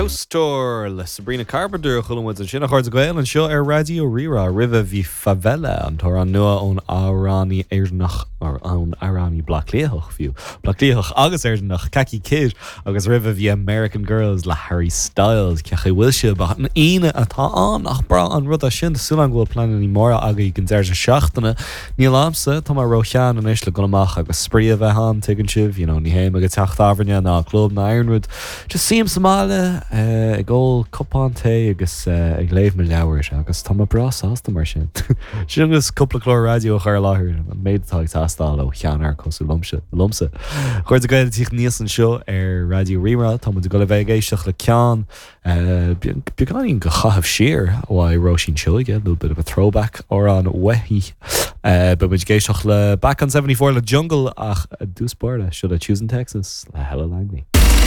House Tour le Sabrina Carpenter a chuala muid ansin, a chairde Gael, anseo ar Raidió Rí-Rá. Roimhe bhí Favela, an t-amhrán nua ón amhránaí Éireannach, or ón amhránaí Bleá Cliathach fiú, Bleá Cliathach agus Éireannach, Kaki Kidd, agus roimhe bhí American Girls le Harry Styles. Cén chaoi a bhfuil sibh? An Aoine atá ann, nach breá an rud é sin? Tá súil agam go bhfuil pleananna móra agaibh don deireadh seachtaine. Níl a'msa, tá mé ró-shean anois le dul amach agus spraoi a bheith a'm, tuigeann sibh, you know, ní théim ag teach tábhairne ná club ná aon rud. Just suím sa mbaile, ag ól cupán tae agus ag léamh mo leabhair agus tá mé breá sásta mar sin. Sin agus cúpla clár raidió a chur i láthair, an méid atá ag teastáil ó sheanfhear cosúil liomsa. liomsa. A chairde Gael ag tíocht aníos anseo ar Raidió Rí-Rá, tá muid ag dul a bheith ag éisteacht le ceann Beagáinín de chaitheamh siar uaidh Róisín Seoige, a little bit of a throwback, amhrán uaithi. Beidh muid ag éisteacht le Back on 74 le Jungle ach i dtús báire, seo le Choosing Texas le Hella Langley.